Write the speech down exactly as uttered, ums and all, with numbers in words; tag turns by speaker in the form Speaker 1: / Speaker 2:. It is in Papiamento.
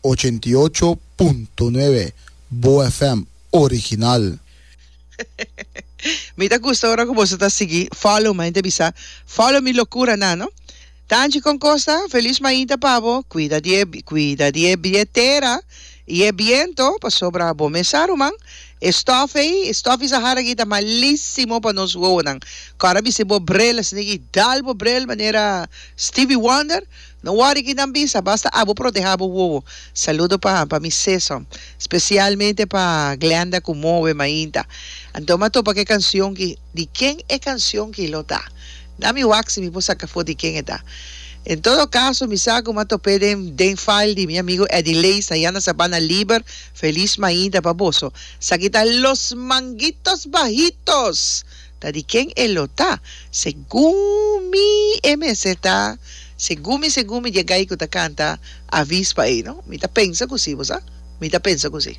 Speaker 1: Ochenta i ocho punto nuebe Bo F M original.
Speaker 2: Mi ta gusta ora ku boso ta sigui follow mi, ta bisa follow mi locura na, no? Tanchi con costa, feliz mainta pa bo, cuida di e, cuida di e billetera y e viento, pasobra bo mes sa, ruman. E stof ei, e stof Sahara aki ta malísimo pa nos wowonan. Kora bisi bo bril, asina dal bo bril manera Stevie Wonder. No worry ki nan bisa, basta abo proteha bo wowo. Saludo pa pa mi seso, especialmente pa Glenda ku move mainta. Anto m'a topa ku canción ki, di ken e canción ki lo ta? Na mi wak si mi por saca for di ken e ta. En todo caso, mi sa ku m'a top'é den, den file di mi amigo Eddie Leis, allá na Sabana Liber. Feliz mainta pa boso. Esaki ta Los Manguitos Bajitos. Ta di ken e lo ta? Segun mi M S ta. Segun mi, segun mi, di e guy ku ta canta Avispa ei, no? Mi ta pensa ku si, bo sa? Mi ta pensa ku si.